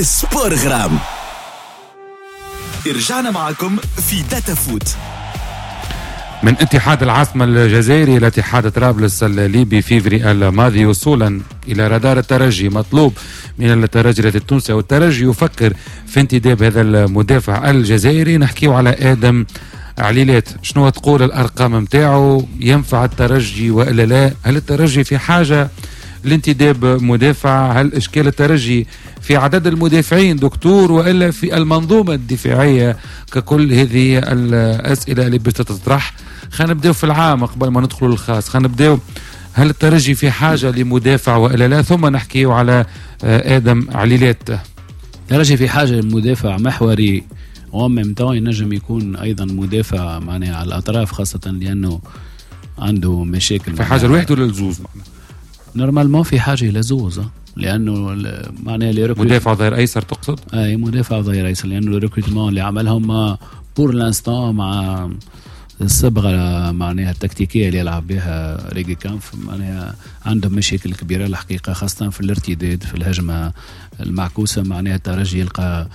sport غرام. رجعنا معكم في داتا فوت. من اتحاد العاصمة الجزائري إلى اتحاد طرابلس الليبي فيفري الماضي، وصولا إلى رادار الترجي، مطلوب من الترجي التونسي، والترجي يفكر في انتداب هذا المدافع الجزائري. نحكيو على آدم عليلات، شنو تقول الأرقام متاعه؟ ينفع الترجي وإلا لا؟ هل الترجي في حاجة لانتداب مدافع؟ هل إشكال الترجي في عدد المدافعين دكتور وإلا في المنظومة الدفاعية؟ ككل هذه الأسئلة اللي بتطرح. خلينا نبداو في العام قبل ما ندخلوا للخاص، خلينا نبداو هل الترجي في حاجة لمدافع وإلا لا، ثم نحكيو على آدم عليلات. الترجي في حاجة لمدافع محوري و en même temps ينجم يكون أيضا مدافع معناها على الأطراف، خاصة لأنه عنده مشاكل. في حاجة الواحد ولا الزوز؟ normalement في حاجة إلى زوز، لأنه معناها les مدافع ظهير أيسر تقصد؟ أي مدافع ظهير أيسر، لأنه ال recrutement اللي عملهم pour l'instant مع الصبغة معناها التكتيكية اللي يلعب بها ريجيكامف معناها عندهم مشاكل كبيرة الحقيقة، خاصة في الارتداد في الهجمة المعكوسة. معناها الترجي يلقى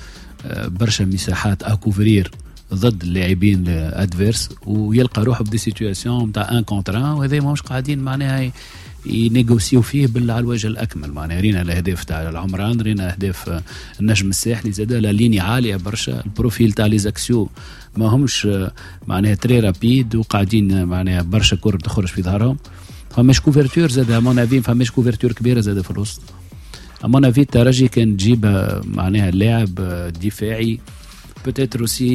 برشا مساحات à couvrir ضد اللاعبين adverses، ويلقى روحه ب des situations نتاع 1 contre 1، وهذا ماهوش قاعدين معناها ينيغوسيو فيه على الوجه الاكمل. معناها رينا الاهداف تاع العمران، رينا اهداف النجم الساحلي، زاد la ligne عالية برشا، ال profil تاع les axiaux ما همش معناها très rapides، وقاعدين معناها برشا كور تخرج في ظهرهم. فماش couverture زاد à mon avis، فماش couverture كبيرة زاد في الوسط. à mon avis الترجي كان تجيب معناها لاعب دفاعي peut-être aussi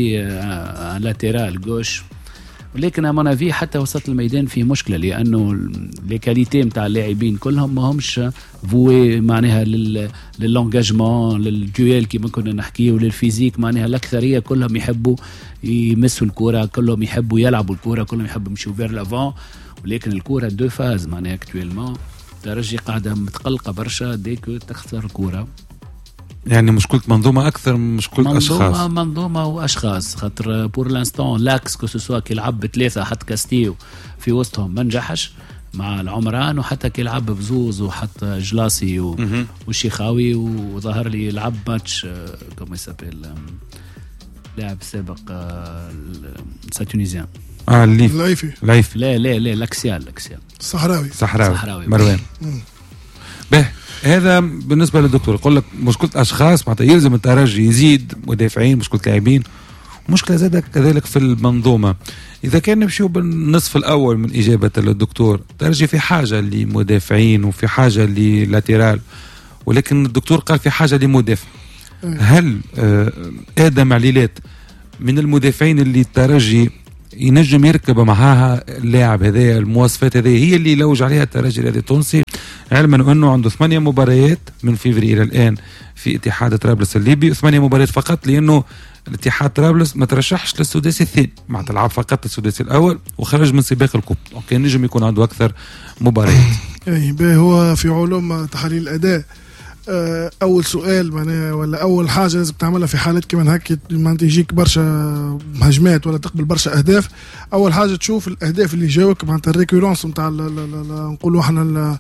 un latéral gauche، ولكن à mon avis حتى وسط الميدان في مشكله، لانه les qualités نتاع اللاعبين كلهم ما همش voués معناها لل l'engagement، لل duel كيما كنا نحكيو، لل physique. معناها الاكثرية كلهم يحبوا يمسوا الكره، كلهم يحبوا يلعبوا الكره، كلهم يحبوا يمشوا vers l'avant، ولكن الكره deux phases معناها actuellement الترجي قاعدة متقلقه برشا dès que تخسر الكره. يعني مشكلة منظومة أكثر من مشكلة أشخاص. منظومة وأشخاص، خاطر pour l'instant l'axe que ce soit كي لعب بثلاثة حط كاستيو في وسطهم ما نجحش مع العمران، وحتى كي لعب بزوز وحط جلاسي والشيخاوي، وظهر لي لعب match comment il s'appelle لاعب سابق stade tunisien الليف العيفي. العيفي. لا لا لا، l'axial l'axial الصحراوي. صحراوي مروان. به هذا بالنسبة للدكتور يقول لك مشكلة اشخاص، معناتها يلزم الترجي يزيد مدافعين، مشكلة لاعبين، مشكلة زادة كذلك في المنظومة. اذا كان نمشيو بالنصف الاول من اجابه الدكتور، الترجي في حاجة لمدافعين وفي حاجة ل latéral، ولكن الدكتور قال في حاجة لمدافع. هل ادم عليلات من المدافعين اللي الترجي ينجم يركب معاها اللاعب هذايا؟ المواصفات هذه هي اللي يلوج عليها الترجي الرياضي التونسي، علما انه عنده 8 مباريات من فيفري الى الان في اتحاد طرابلس الليبي، 8 مباريات فقط، لانه الاتحاد طرابلس ما ترشحش للسداسي الثاني، معناتها لعب فقط السداسي الاول وخرج من سباق ال coupe، donc نجم يكون عنده اكثر مباريات. اي هو في علوم تحليل الاداء اول سؤال معناها ولا اول حاجة لازم تعملها في حالات كيما هكا، معناتها يجيك برشا هجمات ولا تقبل برشا اهداف، اول حاجة تشوف الاهداف اللي جاوك، معناتها ال récurrence نتاع نقولوا احنا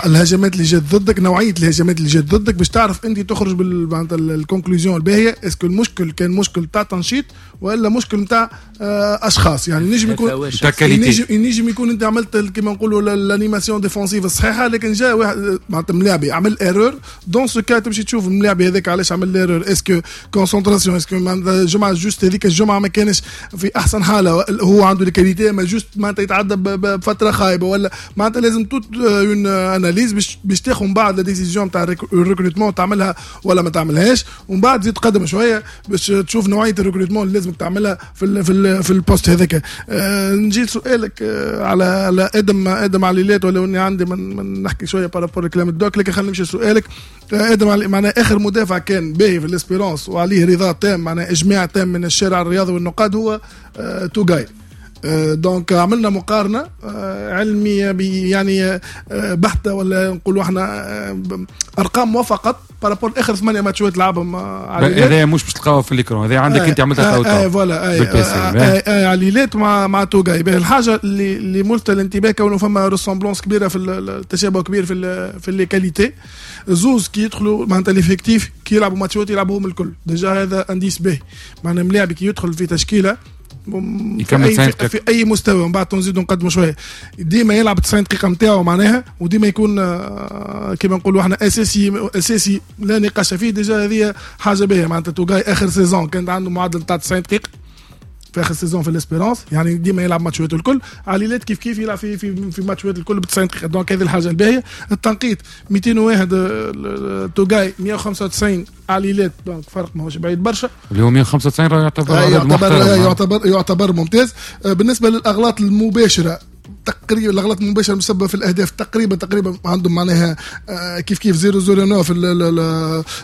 الهجمات اللي جات ضدك، نوعية الهجمات اللي جات ضدك، باش تعرف انت تخرج بال معناتها ال conclusion الباهيه، est-ce que المشكل كان مشكل تاع تنشيط ولا مشكل نتاع اشخاص. يعني نجم يكون نجم يكون انت عملت كيما نقولوا l'animation défensive الصحيحة، لكن جاء واحد معناتها ملاعبي عمل erreur، dans ce cas تمشي تشوف الملاعب هذاك علاش عمل l'erreur، est-ce que concentration، est-ce que الجمعة juste هذيك الجمعة ما كانش في احسن حاله، هو عنده les qualités ما juste معناتها يتعدى بفترة خايبة، ولا معناتها لازم toute une analyse باش تاخذ من بعد la décision تاع ال recrutement تعملها ولا ما تعملهاش، ومن بعد تزيد تقدم شوية باش تشوف نوعية ال recrutement اللي لازم تعملها في ال poste هذاك. نجي لسؤالك على ادم عليلات، ولا اني عندي من نحكي شوية par rapport كلام ال doc، لكن خلينا نمشي لسؤالك. ادم معناها اخر مدافع كان باهي في l'Espérance وعليه رضا تام، معناها اجماع تام من الشارع الرياضي والنقاد، هو توغاي. donc عملنا مقارنة علمية يعني بحته، ولا نقولوا احنا ارقام وفقط par rapport اخر 8 ماتشات لعبهم. هذا مش باش تلقاوها في l'écran، هذا عندك انت عملتها تو voilà عليلات مع توغاي. الحاجة اللي ملفتة الانتباه كونه فما ressemblance كبيرة في التشابه كبير في les qualités. زوز كي يدخلوا معناتها l'effectif كي يلعبوا ماتشات يلعبوهم الكل، déjà هذا indice باهي، معناها ملاعب كي يدخل في تشكيله في اي مستوى، ومن بعد نزيدوا نقدموا شوية، ديما يلعب 90 دقيقة نتاعو معناها، وديما يكون كيما نقولوا احنا اساسي اساسي لا نقاش فيه. déjà هذه حاجة باهيه، معناتها توغاي اخر saison كانت عنده معدل تاع 90 دقيقة في اخر saison في l'Espérance، يعني ديما يلعب ماتشات الكل. عليلات كيف كيف يلعب في ماتشات الكل ب 90 دقيقة، donc هذه الحاجة الباهيه. التنقيط 201 توغاي، 195 عليلات، donc فرق ماهوش بعيد برشا، اللي هو 195 راه يعتبر يعتبر ممتاز. بالنسبة للاغلاط المباشرة تقريبا، الاغلاط المباشرة المسببه في الاهداف تقريبا عندهم معناها كيف كيف 0.09 في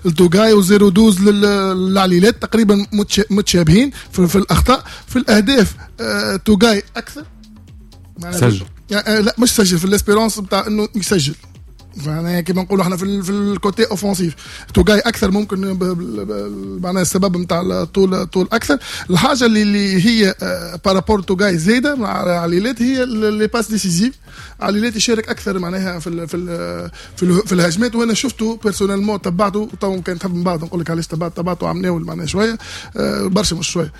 التوغاي و 0.12 للعليلات، تقريبا متشابهين في الاخطاء. في الاهداف توغاي اكثر سجل، لا مش سجل في l'Espérance بتاع انه يسجل، معناها كيما نقولوا احنا في ال côté offensif توغاي اكثر ممكن معناها السبب نتاع طول اكثر. الحاجة اللي هي par rapport توغاي زايدة مع عليلات هي les passes décisives. عليلات يشارك اكثر معناها في ال في ال في, ال في الهجمات، وانا شفته personnellement تبعته، تو كان تحب من بعد نقول لك علاش تبعته عمناول معناها شوية برشا مش شوية.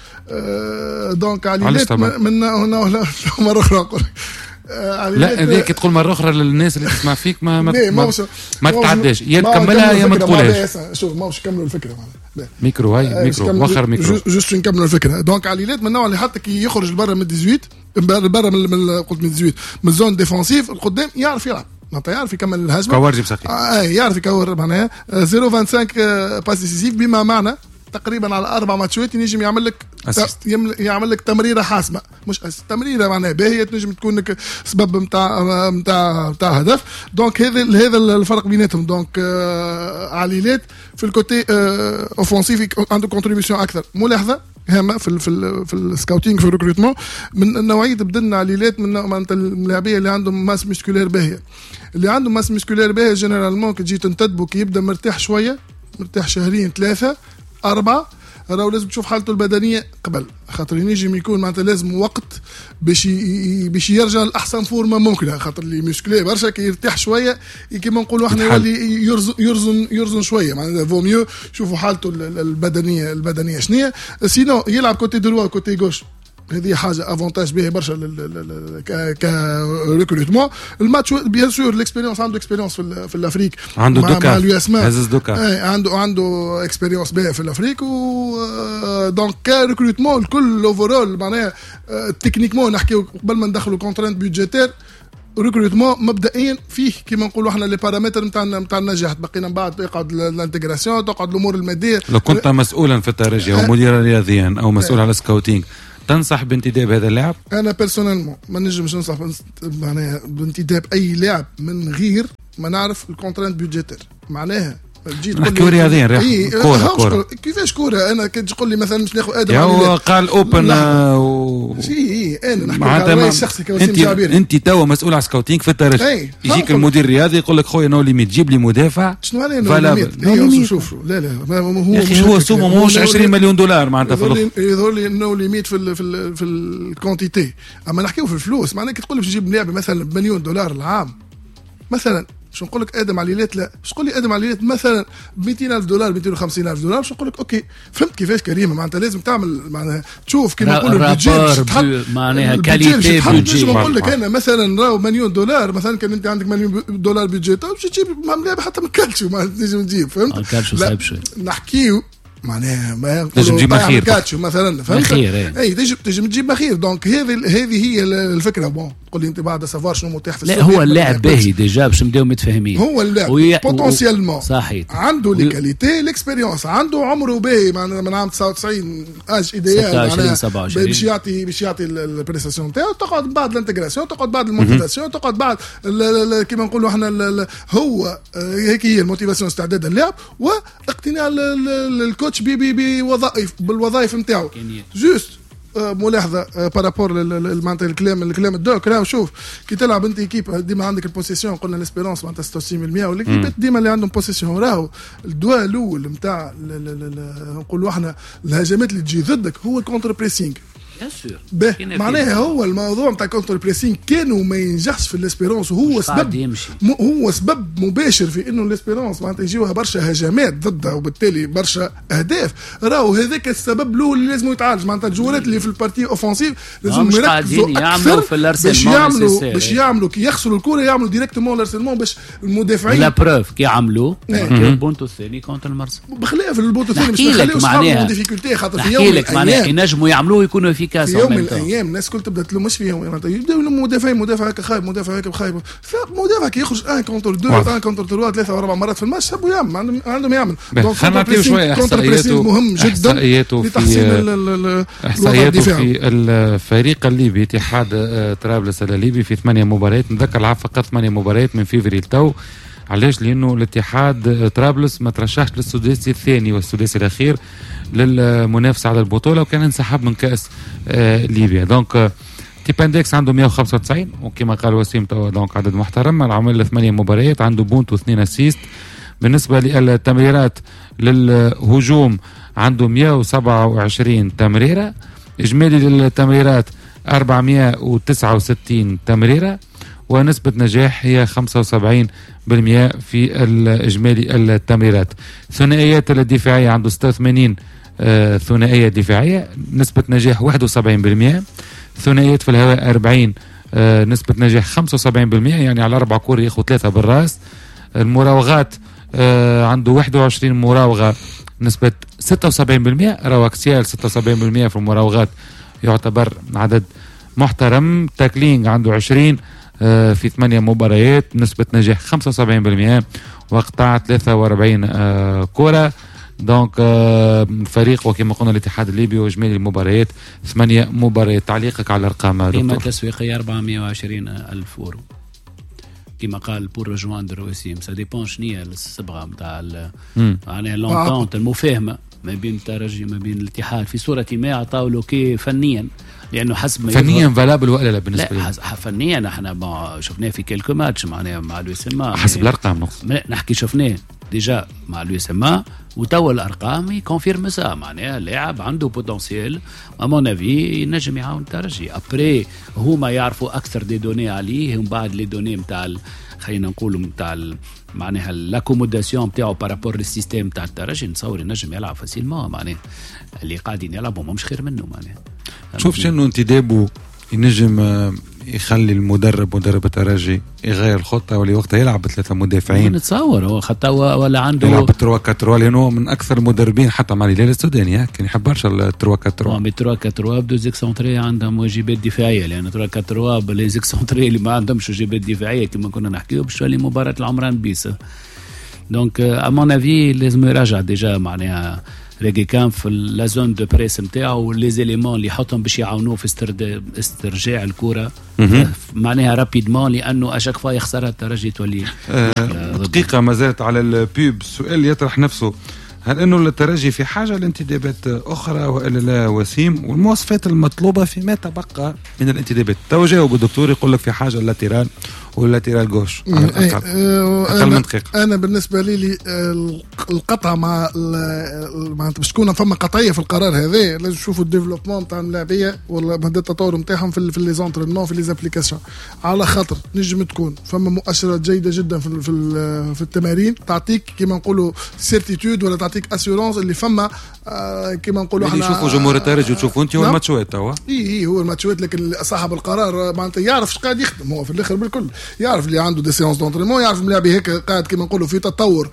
donc عليلات من هنا مرة اخرى نقول لا هذيك تقول مرة اخرى للناس اللي تسمع فيك ما ما ما, ما تتعداش، يا تكملها يا ما تقولهاش. شوف ماهوش كملوا الفكرة ميكرو، هاي ميكرو وخر micro juste نكملوا الفكرة. donc عليلات من النوع اللي حتى كي يخرج برا من 18 برا من قلت من 18 من zone défensive القدام يعرف يلعب، معناتها يعرف يكمل الهجمة، كورجي بساقيه يعرف يكور معناها 0.25 passe décisive، بما معنى تقريبا على 4 ماتشات ينجم يعمل لك يعمل لك تمريره حاسمة، مش تمريره معناها باهيه تنجم تكون لك سبب نتاع نتاع نتاع هدف. donc هذا الفرق بيناتهم. donc عليلات في ال côté offensif عنده contribution اكثر. ملاحظة هامة في في في ال scouting في ال recrutement، من نوعية بدلنا عليلات من معناتها الملاعبيه اللي عندهم masse musculaire باهيه، اللي عندهم masse musculaire باهيه généralement كي تجي تنتدبو كي يبدا مرتاح شوية، مرتاح شهرين 3 4، راهو لازم تشوف حالته البدنية قبل، خاطر ينجم يكون معناتها لازم وقت باش يرجع لاحسن forme ممكنة، خاطر اللي musclé برشا كي يرتاح شوية كيما نقولوا احنا يولي يرزن شوية، معناتها vaut mieux شوفوا حالته البدنية شنية. sinon يلعب côté droit côté gauche، هذه حاجة avantage باهي برشا ك recrutement. الماتش bien sûr l'expérience، عنده expérience في l'Afrique، عنده deux CAF هزز deux CAF، عنده expérience باهيه في l'Afrique، و donc ك recrutement الكل overall معناها techniquement نحكيو قبل ما ندخلوا contraintes budgétaires، recrutement مبدئيا فيه كيما نقولوا احنا les paramètres نتاع النجاح، بقينا من بعد يقعد l'intégration، تقعد الامور المادية. لو كنت مسؤولا في الترجي او مديرا رياضيا او مسؤول على scouting، تنصح بانتداب هذا اللاعب؟ انا personnellement ما نجمش ننصح معناها بانتداب اي لاعب من غير ما نعرف ال contraintes budgétaires، معناها تجي تقول لي رياضيا كورة كيفاش كورة؟ انا كي تقول لي مثلا مش ناخذ ادم هو قال open انا نحكي على رايي الشخصي كوسيم جعبيري. انت توا مسؤول على scouting في الترجي، يجيك المدير الرياضي يقول لك خويا no limite جيب لي مدافع. شنو معناها no limite؟ شوف لا لا هو هو سومه ماهوش 20 مليون دولار معناتها في الاخر، يظهر لي no limite في في في ال quantité، اما نحكيو في الفلوس. معناها كي تقول لي باش نجيب لاعب مثلا بمليون دولار العام مثلا، باش نقول لك ادم عليلات لا، باش تقول لي ادم عليلات مثلا ب 200,000 دولار 250,000 دولار، باش نقول لك OK. فهمت كيفاش كريمة؟ معناتها لازم تعمل معناها تشوف كيما نقولوا ال budget معناها qualité budget. نقول لك انا مثلا راهو مليون دولار مثلا، كان انت عندك مليون دولار budget باش تجيب ملاعب حتى من كالتشو ما تنجم تجيب، فهمت؟ الكالتشو صعيب شوي نحكيو معناها ما تنجم تجيب مخير كاتشو مثلا، فهمت؟ مخير اي تنجم تجيب مخير. donc هذه هي الفكرة. bon تقول لي انت بعد savoir شنو متاح في السوق. لا هو اللاعب باهي déjà باش نبداو متفاهمين، هو اللاعب potentiellement صحيح عنده les qualités l'expérience، عنده عمره باهي معناها من عام 99 âge idéal معناها 27 باش يعطي ال prestation نتاعو. تقعد بعد l'intégration، تقعد بعد ال motivation، تقعد بعد كيما نقولوا احنا هو هيك هي ال motivation، استعداد اللاعب واقتناع ال coach بوظائف بالوظائف نتاعو. juste ملاحظة par rapport معناتها الكلام ال doc، راهو شوف كي تلعب انت équipe ديما عندك ال possession، قلنا l'Espérance معناتها 66% وال équipe ات ديما اللي عندهم possession، راهو الدواء الاول نتاع نقولوا احنا الهجمات اللي تجي ضدك هو ال contre-pressing. معناها هو الموضوع نتاع contre-pressing كانوا ما ينجحش في l'Espérance، وهو سبب هو سبب مباشر في انه l'Espérance معناتها يجيوها برشا هجمات ضدها وبالتالي برشا اهداف. راهو هذاك السبب الاول اللي لازم يتعالج، معناتها الجوارات اللي في ال partie offensive لازم يركزوا اكثر في باش يعملوا كي يخسروا الكره يعملوا directement l'harcèlement باش المدافعين. la preuve كي عملوا البونتو الثاني contre المرسى، بخلاف البونتو الثاني باش نخليو صحابهم difficulté، خاطر في يوم معناها ينجموا يعملوه يكونوا في يوم من الايام الناس الكل تبدا تلوم، مش في يوم معناتها يبداو يلوموا مدافعين، مدافع هكا خايب، مدافع هكا خايب، فمدافع كي يخرج 1 contre 2 1 contre 3 3 واربع مرات في الماتش يعمل عندهم يعمل. donc خلينا نعطيو شوية احصائياته، مهم جدا لتحسين احصائياته في الفريق الليبي اتحاد طرابلس الليبي في 8 مباريات، نذكر لعب فقط 8 مباريات من فيفري لتو. علاش؟ لانه الاتحاد طرابلس ما ترشحش للسداسي الثاني والسداسي الاخير للمنافسة على البطولة، وكان انسحب من كاس ليبيا. donc tip index عنده 195، وكما قال وسيم توا donc عدد محترم، عمل 8 مباريات، عنده but واثنين assist. بالنسبة للتمريرات للهجوم عنده 127 تمريره، اجمالي للتمريرات 469 تمريره، ونسبة نجاح هي 75% في الإجمالي التمريرات. ثنائيات الدفاعية عنده 86 ثنائية دفاعية، نسبة نجاح 71%. ثنائيات في الهواء 40، نسبة نجاح 75%، يعني على 4 كور ياخذ 3 بالراس. المراوغات عنده 21 مراوغة، نسبة 76%، راهو axial 76% في المراوغات يعتبر عدد محترم. tackling عنده 20 في 8 مباريات، نسبة نجاح 75%، وقطع 43 كرة. donc فريق وكما قلنا الاتحاد الليبي واجمالي المباريات 8 مباريات. تعليقك على الارقام دكتور؟ قيمة تسويقية 420 ألف أورو كما قال pour rejoindre وسيم. ça dépend شنية الصبغة نتاع معناها l'entente المفاهمة ما بين الترجي ما بين الاتحاد في صورة ما عطاو له كي فنيا، لانه حسب ما فنيا valable ولا لا بالنسبة لي؟ فنيا احنا شفناه في quelques matchs معناها مع l'USMA، حسب الارقام نقصد نحكي شفناه déjà مع l'USMA، وتوا الارقام ي confirme ça، معناها لاعب عنده potentiel à mon avis ينجم يعاون الترجي. après هما يعرفوا اكثر des données عليه، ومن بعد les données نتاع خلينا نقولوا نتاع معناها l'accommodation نتاعو par rapport لل système نتاع الترجي، نتصور ينجم يلعب facilement، معناها اللي قاعدين يلعبوا مش خير منه. معناها شوف شنو انتدابه ينجم يخلي المدرب مدرب الترجي يغير الخطة، واللي وقتها يلعب بثلاثة مدافعين نتصور هو خطه ولا عنده يلعب 3-4-3، لانه من اكثر المدربين حتى مع الهلال السوداني كان يحب برشا 3-4-3. 3-4-3 ب deux excentrés عندهم واجبات دفاعية، لان 3-4-3 ب les excentrés اللي ما عندهمش واجبات دفاعية كما كنا نحكيو باش تولي مباراة العمران bis. donc à mon avis لازم يراجع déjà معناها ريغيكامب في la zone de press نتاعو، les éléments اللي يحطهم باش يعاونوه في استرجاع الكره معناها rapidement، لانه à chaque fois يخسرها الترجي تولي دقيقة ما زالت على ال pub. السؤال يطرح نفسه، هل انه الترجي في حاجة لانتدابات اخرى والا لا وسيم؟ والمواصفات المطلوبة فيما تبقى من الانتدابات؟ تو جاوب الدكتور يقول لك في حاجة latéral وال latéral gauche على الاقل. اقل من دقيقة. انا بالنسبة لي القطعة مع معناتها باش تكون فما قطعية في القرار هذا، لازم نشوفوا ال développement تاع اللاعبيه ولا مدى التطور نتاعهم في les entraînements في les applications، على خاطر نجم تكون فما مؤشرات جيدة جدا في في التمارين تعطيك كيما نقولوا certitude ولا تعطيك assurance اللي فما كيما نقولوا احنا يشوفوا جمهور الترجي وتشوفوا انت هو الماتشوات توا. اي هو الماتشوات، لكن صاحب القرار معناتها يعرف اش قاعد يخدم هو في الاخر بالكل، يعرف اللي عنده des séances d'entraînement، يعرف اللاعب هيك قاعد كيما نقولوا في تطور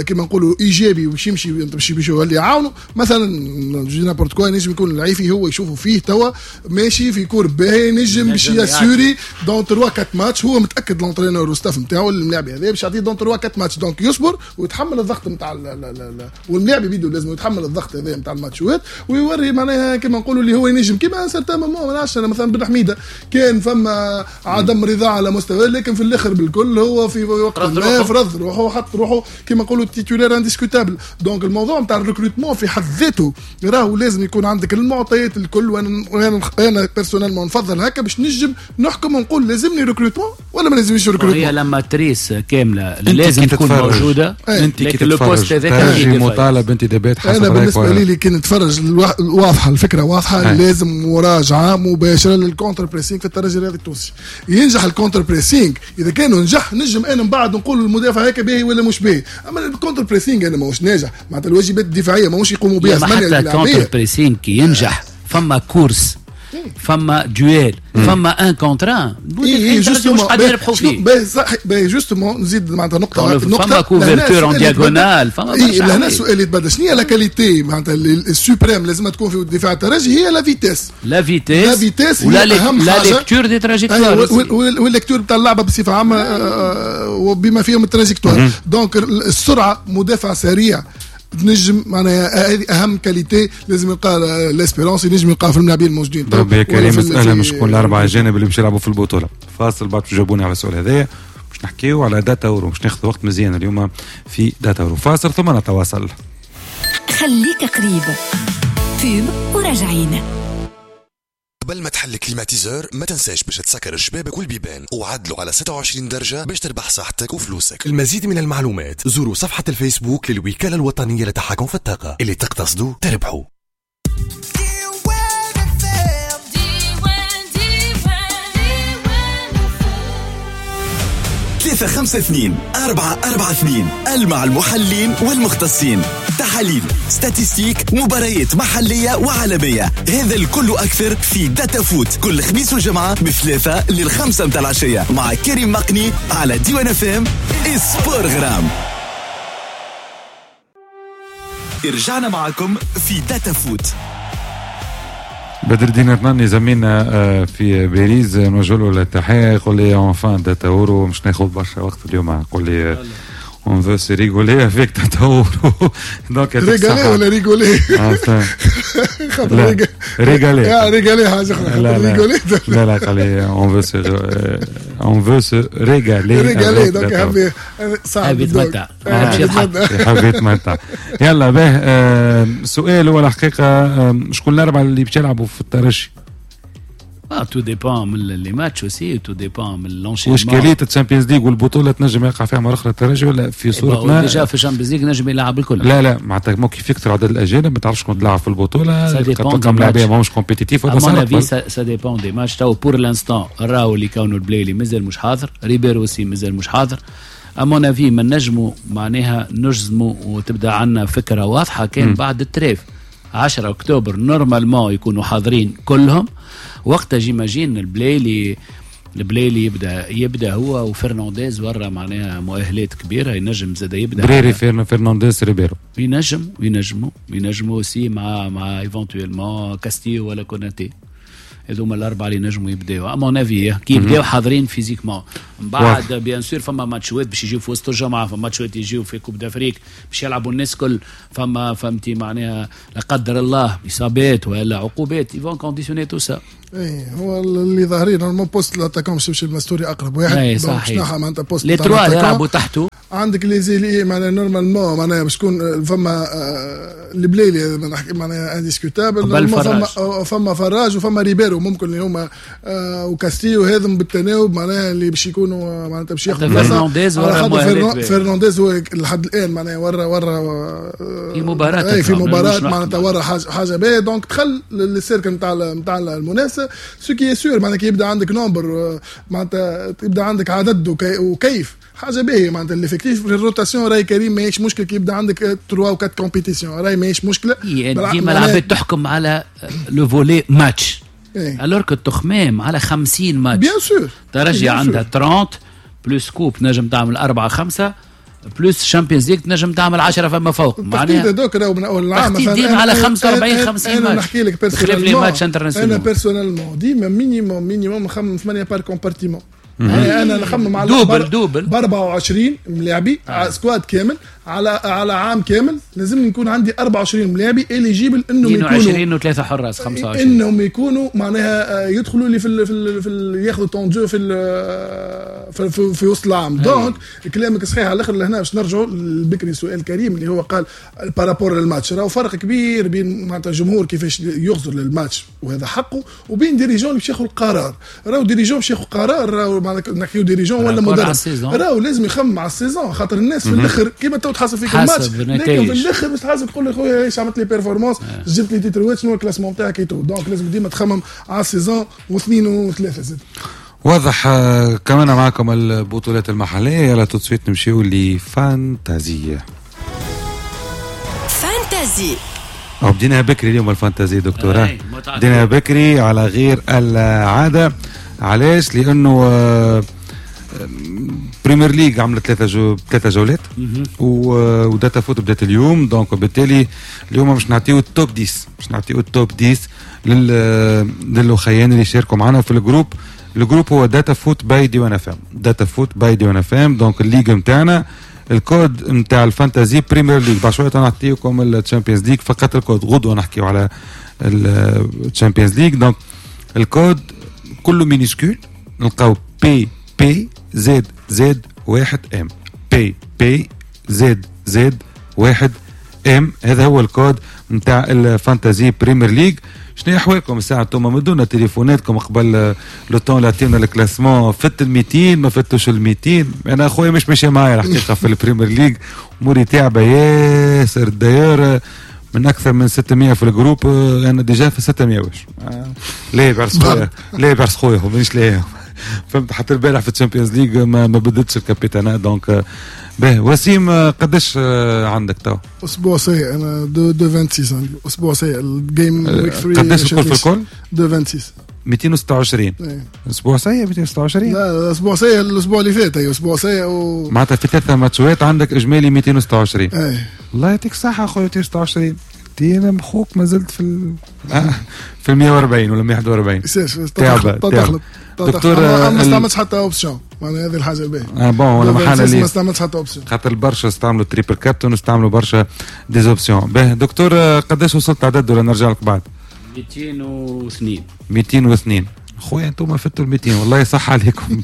كيما نقولوا ايجابي باش يمشي باش يولي يعاونوا. مثلا je n'importe quoi نجم يكون العيفي هو يشوفوا فيه توا ماشي في courbe باهي، نجم باش ي assurer dans 3 4 ماتش، هو متاكد l'entraîneur وال staff نتاعو اللاعب هذا باش يعطيه dans 3 4 matchs، donc يصبر ويتحمل الضغط نتاع واللاعب بيدو لازم يتحمل الضغط هذا نتاع الماتشات ويوري معناها كيما نقولوا اللي هو ينجم. كيما certain moment ما نعرفش انا مثلا بن حميده كان فما عدم رضا على مستواه وكذا، لكن في الاخر بالكل هو في وقت ما فرض روحه وحط روحه كما نقولوا titulaire indiscutable. donc الموضوع نتاع ال recrutement في حد ذاته راهو لازم يكون عندك المعطيات الكل، وانا personnellement نفضل هكا باش نجم نحكم ونقول لازمني recrutement ولا ما لازمنيش recrutement. هي la matrice كاملة لازم تكون موجودة. انت كي تتفرج مطالب انتدابات حسب انا بالنسبة لي اللي كي نتفرج واضحة الفكرة واضحة. لازم مراجعه مباشرة لل contre-pressing في الترجي الرياضي التونسي. ينجح ال contre-pressing، اذا كانوا نجح نجم انا من بعد نقول المدافع هيك باهي ولا مش باهي، اما ال contre-pressing انا ماهوش ناجح، معناتها الواجبات الدفاعية ماهوش يقوموا بها. حتى ال contre-pressing كي ينجح فما course، فما duel، فما un contre un، مش قادر يربحوا فيه. باهي justement نزيد معناتها نقطة فما couverture en diagonale، فما لهنا السؤال يتبدل، شنو هي la qualité معناتها ال suprême لازم تكون في دفاع الترجي؟ هي la vitesse، la vitesse، la vitesse هي اهم حاجة، la lecture des trajectoires وال lecture نتاع اللعبة بصفة عامة وبما فيهم ال trajectoire. donc السرعة، مدافع سريع تنجم معناها هذه اهم qualité لازم يلقى l'Espérance، ينجم يلقاها في الملاعبين الموجودين. ربي يا كريم. مسألة مش شكون الاربعة اجانب اللي باش يلعبوا في البطولة. فاصل بعد تجاوبوني على السؤال هذايا، باش نحكيو على داتا اورو، باش ناخذ وقت مزيان اليوم في داتا اورو. فاصل ثم نتواصل. خليك قريب pub وراجعين. قبل ما تحل climatiseur ما تنساش باش تسكر الشبابك والبيبان وعدلوا على 26 درجة باش تربح صحتك وفلوسك. المزيد من المعلومات زوروا صفحة الفيسبوك للوكالة الوطنية للتحكم في الطاقة. اللي تقتصدوا تربحوا. ثلاثة خمسة اثنين أربعة أربعة اثنين، مع المحللين والمختصين، تحاليل، statistiques، مباريات محلية وعالمية، هذا الكل أكثر في داتا فوت كل خميس وجمعة من 3 ل5 متاع العشية مع كريم مقني على ديوان FM سبور غرام. رجعنا معكم في داتا فوت. بدر الدين عثماني زميلنا في باريس نوجه له التحية، يقول لي enfin داتا اورو مش ناخذ برشا وقت اليوم، يقول لي on veut se rigoler avec Tata Ouro. Donc régaler ولا rigoler؟ régaler. régaler حاجة أخرى. لا لا قال لي on veut se régaler. régaler donc حبي صعب يتمتع. حبي يتمتع. يلا به سؤال هو الحقيقة، شكون الأربعة اللي باش يلعبوا في الترجي؟ tout dépend من les matchs aussi، tout dépend من l'enchaînement. واشكاليه ال Champions League والبطوله تنجم يقع فيها مرة اخرى الترجي ولا في صوره ما déjà في ال Champions League نجم يلعب الكل. لا لا معناتها مو كيف يكثر عدد الاجانب ما تعرفش شكون تلعب في البطولة، تلقى ملاعبيه ماهمش compétitifs. à mon avis ça dépend des matchs. تو pour l'instant راهو اللي كانوا البلايلي مازال مش حاضر، ريبيرو aussi مازال مش حاضر. à mon avis ما نجموا معناها نجزموا وتبدا عندنا فكرة واضحة كان بعد ال trêve 10 اكتوبر normalement يكونوا حاضرين كلهم. وقتها j'imagine البلايلي يبدا هو وفرنانديز ورا معناها مؤهلات كبيرة، ينجم زاد يبدا بريري فرنانديز ريبيرو ينجموا aussi مع éventuellement كاستيو ولا كوناتي. هذوما الاربعة اللي نجموا يبداو à mon avis كي يبداو حاضرين physiquement. من بعد bien sûr فما ماتشات باش يجيو في وسط الجمعة، فما ماتشات يجيو في Coupe d'Afrique باش يلعبوا الناس كل، فما فهمتي معناها لا قدر الله اصابات ولا عقوبات ils vont conditionner tout ça. اي هو اللي ظاهرين normalement poste l'attaquant باش يمشي المستوري اقرب واحد. اي صحيح معناتها poste les trois يلعبوا تحته. عندك les ailiers معناها normalement معناها باش تكون فما البلايلي معناها indiscutable، فما فراج وفما ريبيرو ممكن اللي هما وكاستيو هذم بالتناوب معناها اللي باش يكونوا معناتها باش ياخذوا فرنانديز ورا فرنانديز هو لحد الان معناها ورا في مباراة في مباراة معناتها ورا حاجة باهيه. donc دخل لل cercle نتاع المنافسة. ce qui est sûr معناها كي يبدا عندك nombre معناتها يبدا عندك عدد وكيف حاجة باهيه معناتها l'effectif في ال rotation. راي كريم ماهيش مشكلة كي يبدا عندك 3 و 4 compétitions، راي ماهيش مشكلة. ديما العباد تحكم على le volet match alors que التخمام على 50 match. bien sûr ترجي عندها 30 plus coupe نجم تعمل 4 5 plus Champions League تنجم تعمل 10 فما فوق. معناها دوك راهو من اول العام مثلا على 45 50 ماتش. انا نحكي لك personnellement، انا personnellement ديما minimum نخمم 8 par compartiment. انا نخمم على double double ب 24 ملاعبي squad كامل على عام كامل، لازم يكون عندي 24 ملاعبي éligibles انهم يكونوا 22 وثلاثة حراس 25، انهم يكونوا معناها يدخلوا لي في ياخذوا temps de jeu في وسط العام. donc كلامك صحيح على الاخر. لهنا باش نرجعوا لبكري سؤال كريم اللي هو قال par rapport للماتش، راهو فرق كبير بين معناتها الجمهور كيفاش يغزر للماتش وهذا حقه، وبين dirigeant اللي باش ياخذ القرار. راهو dirigeant باش ياخذ قرار، راهو معناتها نحكيو dirigeant ولا مدرب، راهو لازم يخمم على ال saison، خاطر الناس في الاخر كيما تو تحاسب فيك الماتش، لكن في الاخر باش تحاسب تقول لي خويا ايش عملت لي performance، جبت لي تيتروات، شنو ال classement تاعك et tout. donc لازم ديما تخمم على ال saison واثنين وثلاثة زاد. واضح. كمان معكم البطولات المحلية، يلا tout de suite نمشيو ل fantasy. fantasy بدينا بكري اليوم ال fantasy دكتورة، بدينا بكري على غير العادة. علاش؟ لأنه Premier League عملت ثلاثة جولات وداتا فوت بدات اليوم، donc بالتالي اليوم باش نعطيو ال top 10، باش نعطيو ال top 10 للأخيان اللي شاركوا معنا في ال groupe. ال groupe هو داتا فوت by ديوان اف ام، داتا فوت by ديوان اف ام. donc ال ligue نتاعنا الكود نتاع ال fantasy Premier League، بعد شوية نعطيكم ال Champions League فقط الكود، غدوه نحكيو على ال Champions League. donc ال code كله minuscule، نلقاو P P Z Z 1 M، P P Z Z 1 M، هذا هو الكود نتاع ال fantasy Premier League. شنو احوالكم الساعة انتم؟ مدونا تليفوناتكم قبل le temps لاتينا ال classement، فت ال 200 ما فتوش ال 200. انا اخويا مش ماشي معايا الحقيقة في ال Premier League، اموري تعبه ياسر d'ailleurs، من اكثر من 600 في ال groupe، انا déjà في 600 واش ليه بعرس خويا، ليه بعرس خويا مانيش ليه، فهمت؟ حتى البارح في ال Champions League ما بدلتش الكابيتانا. donc به وسيم قداش عندك تو؟ اسبوع سيء، انا 2.26 عندي اسبوع سيء. ال game week 3 قداش الكل في الكل؟ 2.26 226. اسبوع سيء 226؟ لا اسبوع سيء الاسبوع اللي فات، اي اسبوع سيء معناتها في ثلاثة ماتشات عندك اجمالي 226. اي الله يعطيك الصحة اخويا. 226 انا مخوك ما زلت في 140 ولا 141. تعب دكتور. ما استعملتش حتى option، معناها هذه الحاجة الباهيه. bon ولا محل ما استعملتش حتى option، خاطر برشا استعملوا triple captain واستعملوا برشا des options. باه دكتور قداش وصلت عدد ولا نرجع لك بعد؟ 202. 202 خويا انتم فتوا ال 200 والله صح عليكم.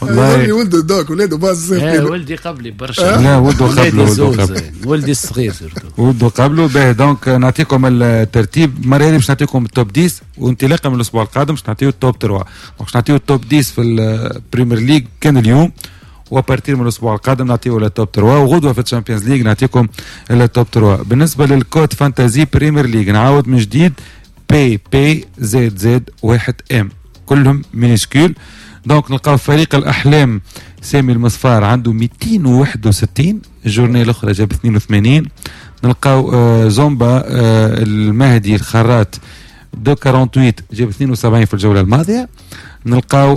والله ولده دوك ولاده باز. ولدي قبلي برشا. لا ولده قبله، ولدي الصغير surtout ولده قبله. باه donc نعطيكم الترتيب المرة هذه، باش نعطيكم ال top 10 وانطلاقا من الاسبوع القادم باش نعطيو ال top 3. donc باش نعطيو ال top 10 في ال Premier League كان اليوم، و à partir من الاسبوع القادم نعطيو ال top 3، وغدوه في ال Champions League نعطيكم ال top 3. بالنسبة لل code fantasy Premier League نعاود من جديد P P Z Z 1 M، كلهم minuscules. donc نلقاو فريق الاحلام سامي المصفار عنده 261، ال journée الاخرى جاب 82. نلقاو زومبا المهدي الخرات 248 جاب 72 في الجولة الماضية. نلقاو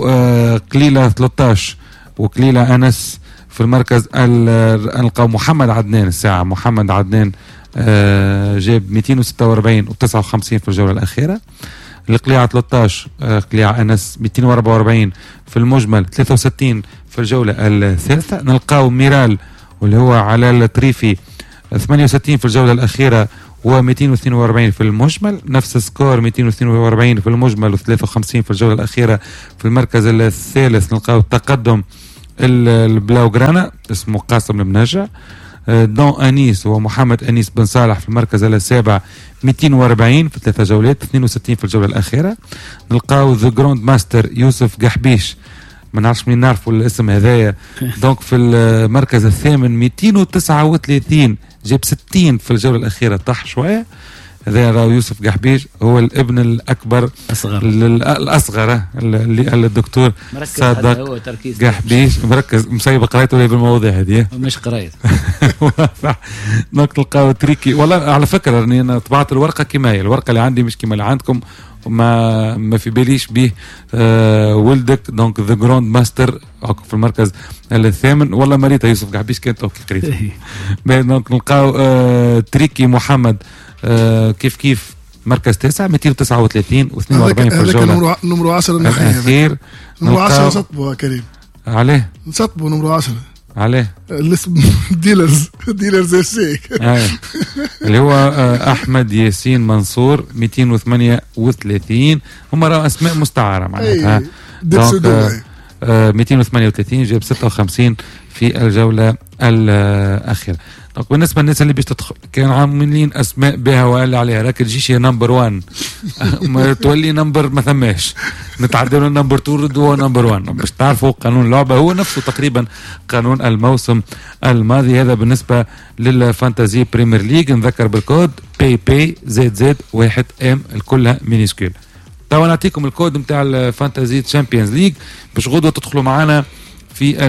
قليله 13 وقليله انس في المركز. نلقاو محمد عدنان الساعة، محمد عدنان جاب 246 و59 في الجولة الأخيرة. القليعة 13، قليعة أنس 244 في المجمل، 63 في الجولة الثالثة. نلقاو ميرال واللي هو على الطريفي 68 في الجولة الأخيرة و242 في المجمل، نفس score 242 في المجمل و53 في الجولة الأخيرة. في المركز الثالث نلقاو التقدم البلاوغرانا اسمه قاسم المنجع. دون أنيس ومحمد أنيس بن صالح في المركز السابع 240 في ثلاثة جولات، 62 في الجولة الأخيرة. نلقاو the grand master يوسف قحبيش، ما نعرفش منين نعرفوا الاسم هذايا. donc في المركز الثامن 239 جاب 60 في الجولة الأخيرة، طاح شوية. هذا راهو يوسف قحبيش هو الابن الأكبر الأصغر اللي الدكتور صادق قحبيش مركز مسيب قرايته ولا بالمواضيع هذه مش قرايت. donc تلقاو تريكي. والله على فكرة راني أنا طبعت الورقة كما هي، الورقة اللي عندي مش كما اللي عندكم، ما في باليش به ولدك. donc the grand master في المركز الثامن. والله مريته يوسف قحبيش كانت okay قريت. donc نلقاو تريكي محمد كيف كيف مركز تاسع 239 و42 في الجولة. numéro 10 الاخير، numéro 10 سطبوا كريم. عليه نسطبوا numéro 10 عليه الاسم ديلرز اف سي اللي هو احمد ياسين منصور 238. هم راهو اسماء مستعارة معناتها. 238 جاب 56 في الجولة الاخيرة. donc بالنسبة للناس اللي باش تدخل كان عاملين اسماء بها وقال عليها راك تجيش number 1 ما تولي number ما ثماش، نتعدلوا number 2 ردوه number 1 باش تعرفوا قانون اللعبة هو نفسه تقريبا قانون الموسم الماضي. هذا بالنسبة لل Fantasy Premier League. نذكر بال code PP ZZ 1 M الكلها minuscule. توا نعطيكم الكود نتاع ال Fantasy Champions League باش غدوه تدخلوا معنا في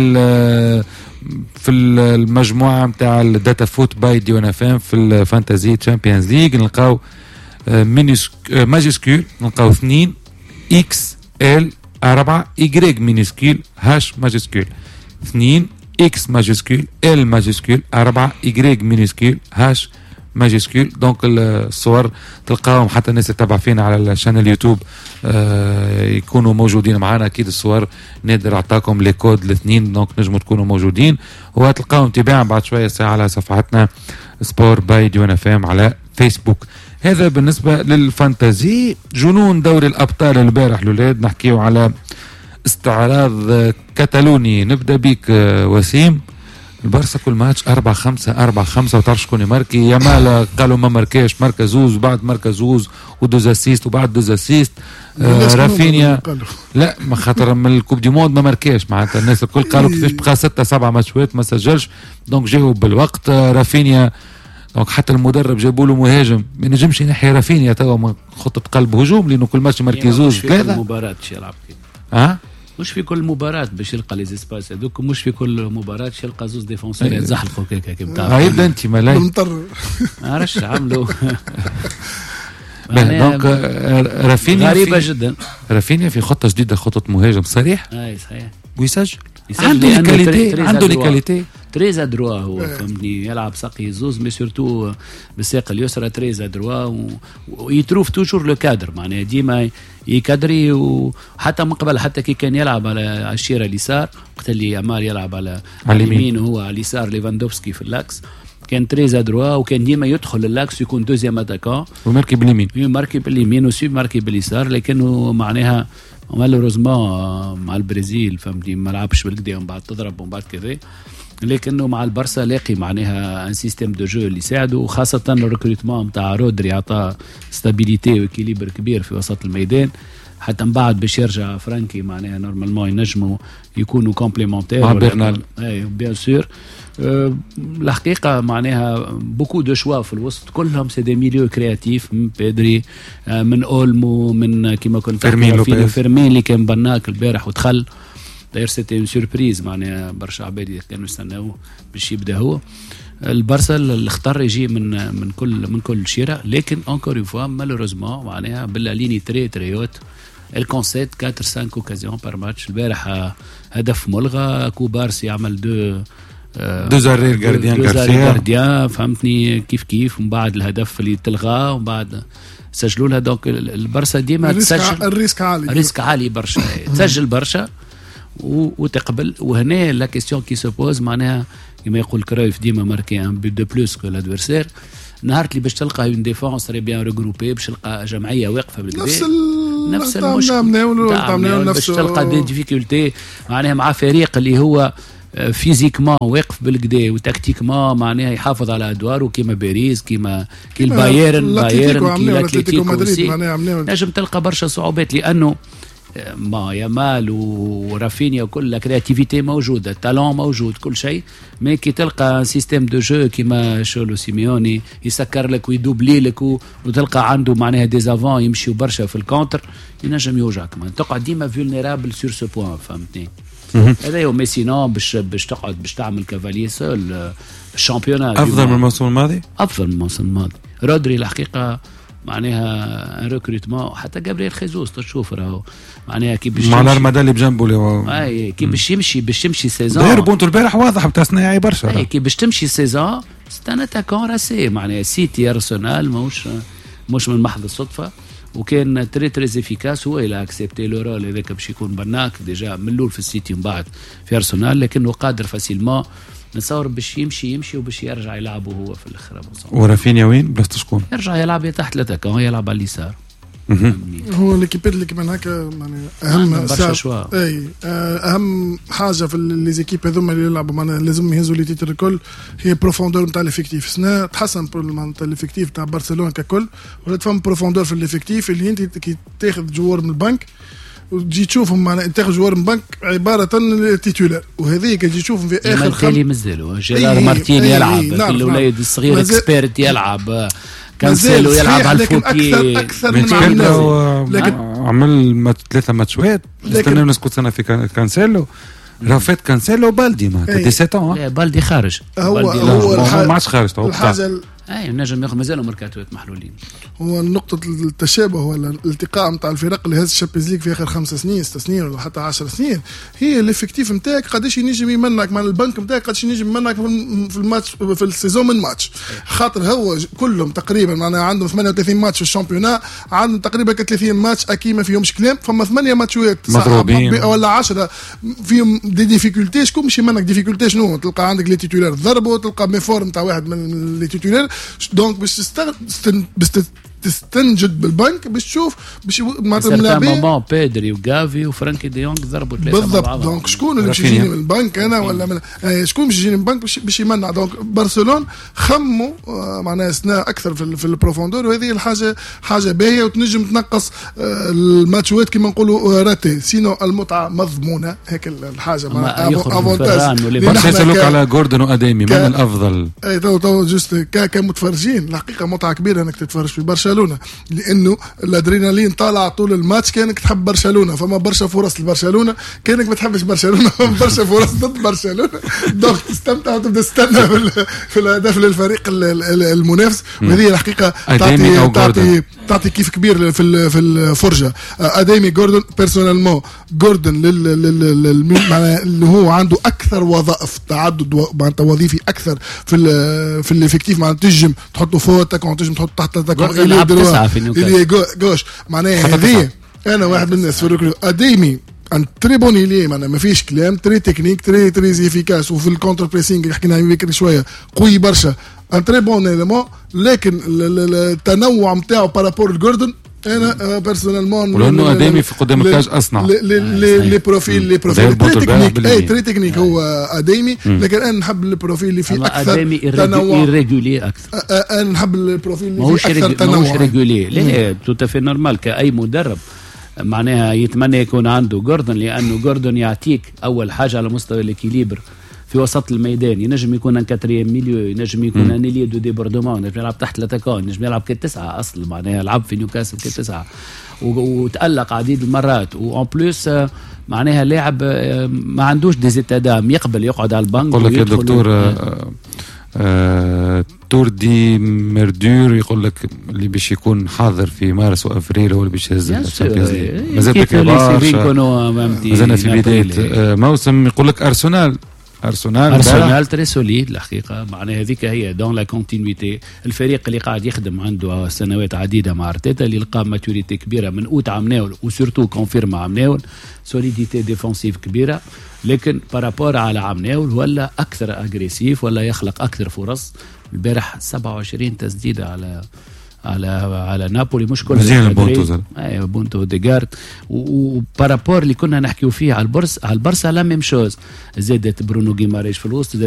المجموعة نتاع ال Data Foot by ديوان اف ام في ال Fantasy Champions League. نلقاو majuscule، نلقاو 2 X L 4 Y minuscule H majuscule، 2 X majuscule L majuscule 4 Y minuscule H majuscule. donc الصور تلقاهم حتى الناس اللي تتابع فينا على ال chaîne اليوتيوب يكونوا موجودين معنا. اكيد الصور نادر اعطاكم les codes الاثنين، donc نجموا تكونوا موجودين وتلقاهم تباعا بعد شوية ساعة على صفحتنا Sport by ديوان اف ام على فيسبوك. هذا بالنسبة لل Fantasy. جنون دوري الابطال البارح الاولاد، نحكيو على استعراض كتالوني. نبدا بك وسيم. البارسا كل ماتش 4-5 4-5 وتعرف شكون يماركي. يامال قالوا ما ماركاش، ماركا زوز وبعد ماركا زوز و deux assists وبعد deux assists. رافينيا لا ما خاطر من ال Coupe du Monde ما ماركاش، معناتها الناس الكل قالوا كيفاش بقى 6-7 ماتشات ما سجلش، donc جاوب بالوقت. رافينيا donc حتى المدرب جابوا له مهاجم ما نجمش ينحي رافينيا توا من خطه قلب هجوم لانه كل ماتش ماركي زوز ثلاثة. مباراة يلعب مش في كل مباراة باش يلقى les espaces هذوك، مش في كل مباراة باش يلقى زوز défenseurs يتزحلقوا كيك كيف تعرف. يبدا انت ملاي مطر عرفش عملوا. donc رافينيا غريبة جدا. رافينيا في خطة جديدة، خطة مهاجم صريح. اي صحيح، ويسجل، عنده qualité، عنده les qualités، très adroit هو فهمتني، يلعب ساقي زوز mais surtout بالساق اليسرى très adroit و il trouve toujours le cadre، معناها ديما يكادري. وحتى من قبل حتى كي كان يلعب على الشيره اليسار وقت اللي يامال يلعب على اليمين وهو على اليسار ليفاندوفسكي في l'axe كان très adroit وكان ديما يدخل l'axe يكون deuxième attaquant وماركي باليمين، يماركي باليمين وسي ماركي باليسار. لكنه معناها malheureusement مع البرازيل فهمتني ما لعبش بالكدا ومن بعد تضرب ومن بعد كذا، لكنه مع البرسا لاقي معناها un système de jeu اللي يساعده، وخاصة ال recrutement نتاع رودري عطاه stabilité و équilibre كبير في وسط الميدان. حتى من بعد باش يرجع فرانكي معناها normalement ينجموا يكونوا complémentaires مع برنال اي bien sûr. الحقيقة معناها beaucoup de choix في الوسط كلهم c'est des milieux créatifs، من بيدري من اولمو من كيما كنت فيرمين اللي كان بناك البارح ودخل d'ailleurs c'était une surprise معناها برشا عباد كانوا يستناوه باش يبدا هو. البارسا الخطر يجي من كل شيره، لكن encore une fois malheureusement معناها ب la ligne très très haute elle concède 4-5 occasions par match. البارح هدف ملغى، كوبارسي عمل deux arrêts gardien غارسيا فهمتني كيف كيف، ومن بعد الهدف اللي تلغى ومن بعد سجلوا لها. donc البارسا ديما تسجل، ال risque عالي، ال risque عالي برشا، تسجل برشا وتقبل. وهنا la question qui se pose معناها كما يقول كرويف ديما marquer un but de plus que l'adversaire. نهار اللي باش تلقى une défense très bien regroupée، باش تلقى جمعية واقفة بالكدا نفس المشكل، باش تلقى des difficultés معناها مع فريق اللي هو physiquement واقف بالكدا و tactiquement معناها يحافظ على ادواره كيما باريس كيما كي البايرن بايرن كي الاتليتيكو مدريد، نجم تلقى برشا صعوبات لانه ما يامال ورافينيا وكل créativité موجودة، talent موجود، كل شيء، mais كي تلقى système de jeu كيما شولو سيميوني يسكر لك ويدوبلي لك وتلقى عنده معناها des avants يمشيو برشا في ال contre، ينجم يوجعك، تقعد ديما vulnérable sur ce point فهمتني. هذا هو. mais sinon باش تقعد باش تعمل cavalier seul ال championnat افضل من الموسم الماضي، افضل من الموسم الماضي. رودري الحقيقة معناها recrutement، حتى جابرييل خيزوس تشوف راهو معناها كي باش مع الارمدا اللي بجنبه اللي هو اي كي باش يمشي باش تمشي saison داير بونتو البارح واضح بتاع صناعي برشا، اي كي باش تمشي saison c'est un attaquant racé معناها سيتي ارسنال ماهوش مش من محض الصدفه، وكان très très efficace. هو il a accepté le rôle هذاك باش يكون بناك déjà من الاول في السيتي ومن بعد في ارسنال، لكنه قادر facilement نتصور باش يمشي يمشي وباش يرجع يلعب هو في الاخر. ورافينيا وين بلاصة شكون؟ يرجع يلعب تحت l'attaquant، يلعب على اليسار. هو l'équipe اللي كيما هكا يعني اهم برشا choix. اي، اهم حاجة في les équipes هذوما اللي يلعبوا معناها لازم يهزوا les titres الكل هي profondeur نتاع l'effectif. سنة تحسن معناتها l'effectif تاع برشلونة ككل، ولات فما profondeur في l'effectif اللي انت كي تاخذ joueur من البنك وتجي تشوفهم معناها تاخذ joueur من بنك عبارة titulaire، وهذه كي تجي تشوفهم في اخر خم مازالوا جيرار مارتين يلعب، الوليد الصغير expert يلعب، كانسيلو يلعب على ال faux pied. اكثر اكثر من لكن عمل ثلاثة ماتشات، نستنى نسكت سنة في كانسيلو، رافيت كانسيلو بالدي معناتها 17. لا، بالدي خارج. هو هو ما عادش خارج. الحاجة اي نجم ياخذ، مازالوا ميركاتوات محلولين. هو نقطة التشابه ولا الالتقاء نتاع الفرق اللي هز ال Champions League في اخر 5 سنين، 6 سنين ولا حتى 10 سنين، هي l'effectif نتاعك قداش ينجم يمنعك مع البنك نتاعك، قداش ينجم يمنعك في الماتش، في ال saison من ماتش، خاطر هو كلهم تقريبا معناها عندهم 38 ماتش في ال championnat، عندهم تقريبا 30 ماتش اكيد ما فيهمش كلام، فما ثمانية ماتشات مضروبين ولا 10 فيهم des difficultés. شكون باش يمنعك؟ difficulté شنو؟ تلقى عندك les titulaires ضربوا، تلقى méforme تاع واحد من les titulaires، donc باش تستنجد بالبنك باش تشوف باش معناتها اللاعبين moment بيدري وغافي وفرانكي ديونغ ضربوا ثلاثة. بالضبط، donc شكون اللي باش يجيني من البنك انا ولا من شكون باش يجيني من البنك باش يمنع؟ donc برشلونة خموا معناها سنة اكثر في ال profondeur، وهذه الحاجة حاجة باهيه وتنجم تنقص الماتشات كما نقولوا ratés، sinon المتعة مضمونه، هيك الحاجة معناها avantage. برشا يسالوك على جوردن واديمي، من الافضل؟ اي تو تو juste كمتفرجين الحقيقة متعه كبيرة انك تتفرج في برشلونه، لانه الادرينالين طالع طول الماتش. كانك تحب برشلونة فما برشا فرص لبرشلونه، كانك ما تحبش برشلونة فما برشا فرص ضد برشلونه، donc تستمتع وتبدا تستنى في الهدف للفريق المنافس، وهذه الحقيقة تعطي كيف كبير في الفرجه. اديمي جوردن، personnellement جوردن اللي هو عنده اكثر وظائف، تعدد معناتها وظيفي اكثر في l'effectif، معناتها تنجم تحطه فوق attaquant، تنجم تحط تحت attaquant، ailier droit، ailier gauche. معناها هذه انا واحد من الناس في اديمي un très bon ailier، معناها ما فيش كلام، très technique، très très efficace، وفي ال contre-pressing اللي حكينا عليه بكري شوية قوي برشا، un très bon élément، لكن التنوع نتاعو par rapport لجوردن انا personnellement ولانه اديمي في قدام ال cage اصنع. les profils très technique، اي très technique هو اديمي، لكن انا نحب ال profil اللي فيه اكثر اديمي irrégulier اكثر. انا نحب ال profil اللي فيه اكثر تنوع. ماهوش régulier، لا tout à fait normal، كاي مدرب معناها يتمنى يكون عنده جوردن، لانه جوردن يعطيك اول حاجة على مستوى l'équilibre في وسط الميدان، ينجم يكون un quatrième milieu، ينجم يكون un ailier de débordement، ينجم يلعب تحت l'attaquant، ينجم يلعب كتسعة اصل، معناها لعب في نيوكاسل كتسعة وتالق عديد المرات، و en plus معناها لاعب ما عندوش des états d'âme، يقبل يقعد على البنك. يقول لك يا دكتور تور دي مردور، يقول لك اللي باش يكون حاضر في مارس وافريل هو اللي باش يهز ال Champions League. مازال بكري برشا، مازلنا في بداية موسم. يقول لك ارسنال ارسنال. ارسنال très solide الحقيقه، معناها هذيك هي dans la continuité، الفريق اللي قاعد يخدم عنده سنوات عديدة مع ارتيتا، اللي لقى maturité كبيرة من اوت عمناول و surtout confirme عمناول، solidité défensive كبيره، لكن par rapport على عمناول ولا اكثر agressif ولا يخلق اكثر فرص. البارح 27 تسديده على نابولي، مش كل مزيان البونتو زاد. ايوه، بونتو اوديغارد، و par rapport اللي كنا نحكيو فيه على البرس على البرسا la même chose، زادت برونو جيماريش في الوسط زادت.